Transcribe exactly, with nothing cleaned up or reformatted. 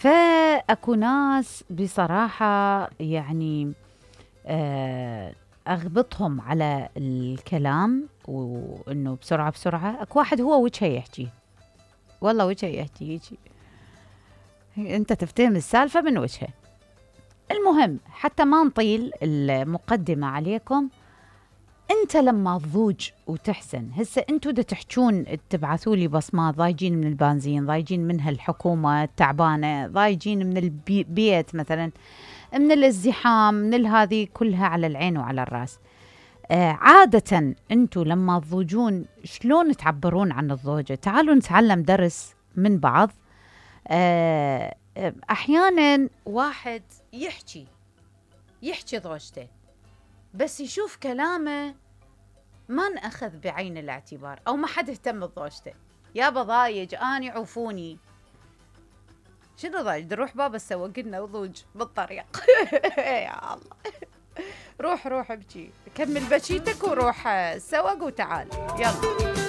فأكو ناس بصراحة يعني آه أغبطهم على الكلام وإنه بسرعة بسرعة. أكو واحد هو وجهه يحكي، والله وجهه يحكي هيجي، أنت تفتهم السالفة من وجهه. المهم حتى ما نطيل المقدمة عليكم، أنت لما تضوج وتحسن، هسه أنتوا دا تحجون تبعثوا لي بصمات، ضايجين من البنزين، ضايجين من هالحكومة التعبانة، ضايجين من البيت مثلا، من الازدحام، من هذه كلها على العين وعلى الراس. آه عادة أنتوا لما تضوجون شلون تعبرون عن الضوجة؟ تعالوا نتعلم درس من بعض. آه أحيانا واحد يحكي يحكي ضوجته بس يشوف كلامه ما نأخذ بعين الاعتبار أو ما حد اهتم بضوجته. يابا ضايج أني عوفوني، شنو ضايج؟ نروح بابا السوق قلنا وضوج بالطريق. يا الله، روح روح ابكي، كمل بكيتك وروح السوق وتعال يلا.